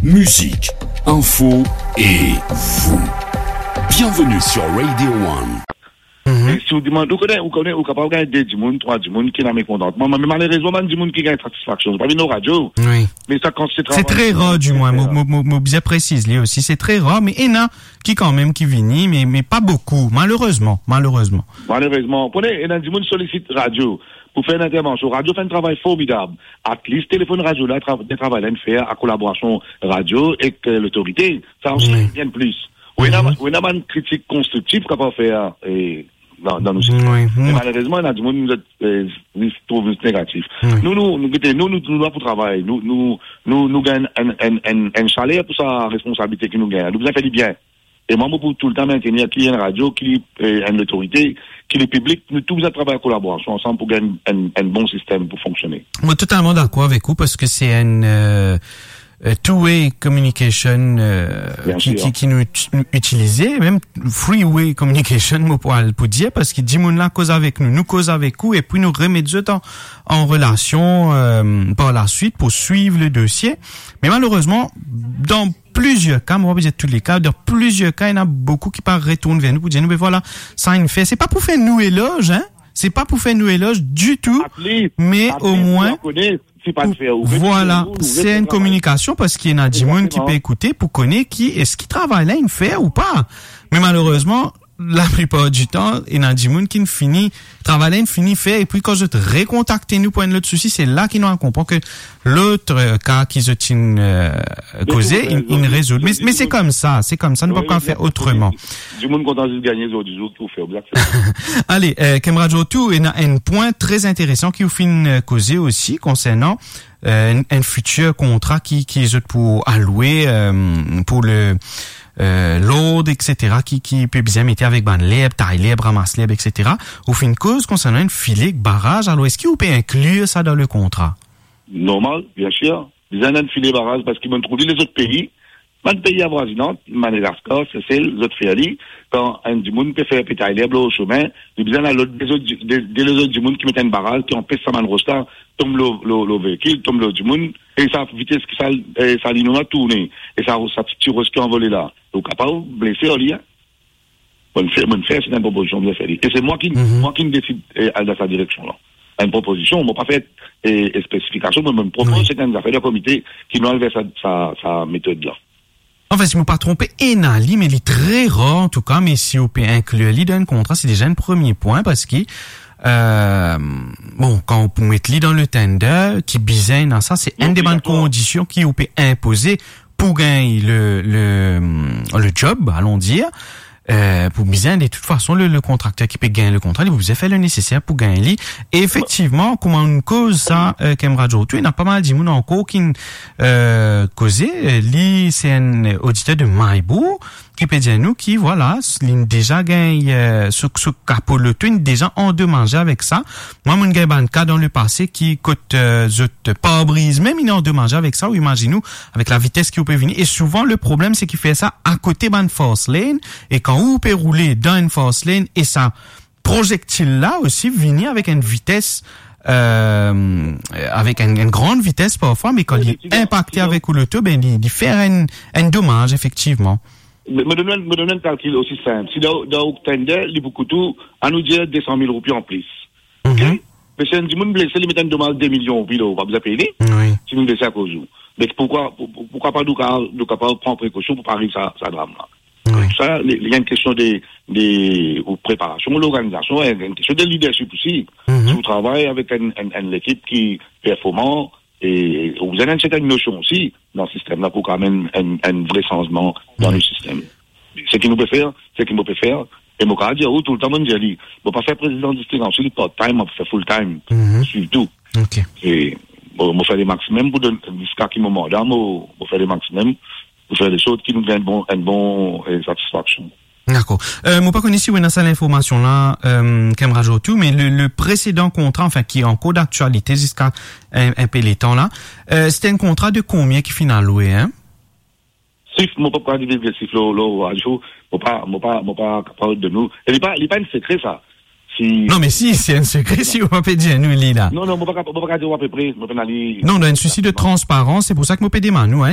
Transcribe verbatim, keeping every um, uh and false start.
Mizik, info e vous. Bienvenue sur Radio One. Mhm. E si ou demann, ou kone, ou kone, ou kapav gagn de dimoun, trwa dimoun ki ena mekontantman, me malerezman, bann dimoun ki gagn satisfaksion, pa vinn lor radio. Wi. Me sa, kan se travay, se tre rar, dimwin, mo, mo, mo, mo bizin presiz li osi, se tre rar, me ena ki kanmem ki vini, me, me pa boukou, malerezman, malerezman. Malerezman, kone, ena dimoun solisit radio pou fer enn intervansion. Radio fer enn travay formidab. At least, telefonn radio la, tra-, de travay la inn fer a kolaborasion radio ek, eh, lotorite. Sa osi, wi, bien plis. Ou ena, mhm, ou ena bann kritik konstriktif kapav fer, eh, dan, dan nou sistem. Wi, me wi, malerezman, ena dimoun, zot, eh, zis trouv zis negatif. Wi. Nou, nou, nou, gete, nou, nou, nou la pou travay. Nou, nou, nou, nou gagn enn, enn, enn, enn saler pou sa responsabilite ki nou gagn. Nou bizin fer li bien. E mwa, mo pou toultan mintenir ki enn radio, ki, eh, enn lotorite, ki lepiblik, nou tou bizin travay an kolaborasion ansam pou gagn enn, enn bon sistem pou fonksione. Mo totalman dakor avek ou, parski se enn, eh, eh, two-way communication, eh, bien ki, sir, ki, ki nou it-, nou itilize, mem three-way communication, mo pou al pou dir, parski dimoun la koz avek nou, nou koz avek ou, epi nou remet zot an, an relasion, eh, par la swit pou swiv le dosie. Me malerezman, dan plizier ka, mo pa pou dir tou le ka, dan plizier ka, ena boukou ki pa retourn ver nou pou dir nou, "Be vwala, sa inn fer." Se pa pou fer nou eloz, hein. Se pa pou fer nou eloz ditou, at least, me at least, omwin, nou kone, si pa pou fer, ou vwala, nou, nou se enn kominikasion, parski ena dimoun ki, egzakteman, pe ekoute pou kone ki eski travay la inn fer ou pa. Me malerezman, laplipar ditan, ena dimoun ki fini, travay la inn fini fer, epi kan zot rekontakte nou pou enn lot sousi, se la ki nou al konpran ke lot, eh, ka ki zot inn, eh, koze, inn, inn rezoud. Me, me se koumsa, se koumsa, nou pa kapav fer otreman. Wi, wi, wi. Dimoun kontan zis gagne zordi zour ki ou fer, ou bien. Ale, eh, Kemra Djortou, ena enn pwin tre interesan ki ou finn, eh, koze osi konsernan, eh, enn, enn fitir kontra ki, ki zot pou alwe, eh, pou le, eh, lord, et cetera, ki, ki pe bizin mete avek bann lerb, tay lerb, ramas lerb, et cetera. Ou finn koz konsernan enn file ek baraz, alor eski ou pe inklir sa dan le kontra? Normal, bien sir. Bizin enn file baraz, parski bann trouv li lezot pei, bann pei avwazinan, Madagaskar, Sesel, zot fer li, kan enn dimoun pe fer pe tay lerb lor sime, li bizin al lord de lezot, de, de lezot dimoun ki met enn baraz ki anpes sa bann ros la tonm lor, lor, lor veikil, tonm lor dimoun, e sa vites ki sa, e sa linon la tourne, e sa, sa ti ros ki anvole la, ou kapav blese ar li, hein. Mo'nn fer, mo'nn fer, se enn propozision, bizin fer li. E se mwa ki, mhm, mwa ki desid, eh, al dan sa direksion la. Enn propozision, mo pa fer, eh, spesifikasion, me mo'nn propoz, wi, se enn zafer de komite ki nou al ver sa, sa, sa metod la. Anfin, si mo pa tronpe, ena li, me li tre rar, antouka, me si ou pe inklir li dan enn kontra, se deza enn premie pwin, parski, eh, bon, kan ou pou met li dan le tender, ki bizin ena sa, se enn de bann kondision ki ou pe inpoze pou gagn le, le, le job, alon dir, eh, pou bizin, de tout fason, le, le kontrakter ki pe gagn le kontra, li pou bizin fer le neseser pou gagn li. E efektivman, kouma nou koz sa, eh, Kemra Djortou, ena pa mal dimoun ankor ki, eh, koze, eh, li, se enn oditer de Maybou, ki pe dir nou ki, vwala, s-, li deza gagn, eh, so, so kapo loto, li deza andomaze avek sa. Mwa, mo'nn gagn bann ka dan lepase ki kot, eh, zot parbriz mem inn andomaze avek sa, ou imazinn ou, avek lavites ki ou pe vini. E souvan, le problem, se ki fer sa akote bann fast lane, e kan ou pe roule dan enn fast lane, e sa proyektil la osi vini avek enn vites, eh, avek enn, enn gran vites parfwa, me kan li inpakte avek ou loto, be, li, li fer enn, enn domaz, efektivman. Me, mo donn, mo donn enn kalkil osi sinp. Si dan, dan ou tender, li pou kout ou, anou dir, de san mil roupi anplis. Ok? Mhm. Me si enn dimoun blese, li met enn domaz de milion roupi lor ou, pa bizin pey li. Wi. Si li blese akoz ou. Me poukwa, pou, pou, poukwa pa nou ka, nou kapav pran prekosion pou pa ariv sa, sa dram la? Wi. Sa, li, li enn kestion de, de, ou preparasion, lorganizasion, enn, enn kestion de leadership osi. Mhm. Si ou travay avek enn, enn, enn lekip ki performan, e ou bizin enn sertenn nosion osi dan sistem la pou kapav amenn enn, enn vre sanzman dan le sistem. Seki nou pe fer, seki mo pe fer, e mo kapav dir ou toultan, mo'nn dir li, mo pa fer prezidan distrik, ansuit part time, mo fer full time, swiv tou. Ok. E mo, mo fer le maximum pou donn, ziska ki mo manda, mo, mo fer le maximum pou fer de sort ki nou gagn bon, enn bon, eh, satisfaksion. Dakor. Eh, mo pa kone si ou ena sa linformasion la, eh, Kemra Djortou, me le, le presedan kontra, anfin, ki ankor daktialite ziska enn, enn pe letan la, eh, se enn kontra de konbien ki finn alwe, hein? Sif, mo pa kapav divizge sif lor, lor radio, mo pa, mo pa, mo pa kapav donn ou. E li pa, li pa enn sekre sa. Si... Non, me si, se enn sekre si ou pa pe dir nou li la. Non, non, mo pa kapav, mo pa kapav dir ou apepre, mo pena li. Non, dan enn sousi de transparans, se pou sa ki mo pe demann ou, hein.